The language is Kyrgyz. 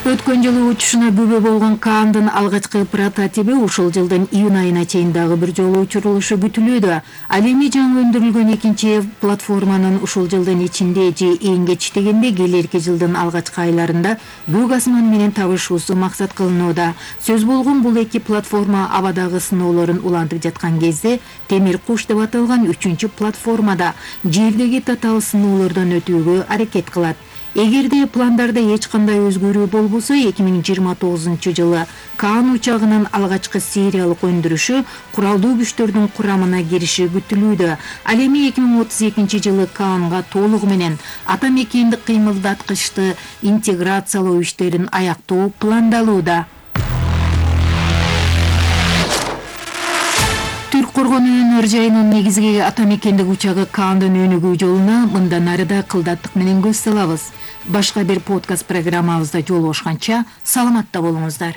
Өткөн жылы учушуна күбө болгон Каандын алгачкы прототиби ушул жылдын июнь айына чейин дагы бир жолу учурулушу күтүлүүдө. Ал эми жаңы өндүрүлгөн экинчи платформанын ушул жылдын ичинде же эң кеч дегенде келерки жылдын алгачкы айларында көк асман менен табышуусу максат кылынууда. Сөз болгон бул эки платформа абадагы сыноолорун улантып жаткан кезде Темир куш деп аталган 3-чү платформада жердеги татаал сыноолордон өтүүгө аракет кылат. Эгерде пландарда эч кандай өзгөрүү болбосо 2029 жылы Каан учагынын алгачкы сериялык өндүрүшү куралдуу күчтөрдүн курамына кириши күтүлүүдө. Ал эми 2032 жылы Каанга толугу менен атамекендик кыймылдаткычты интеграциялоо иштерин аяктоо пландалууда. Түрк коргонуу өнөр жайынын негизги атамекендик учагы Каандын өнүгүү жолуна мындан ары да кылдаттык менен көз салабыз. Башка бир подкаст программабызда жолугушканча саламатта болуңуздар.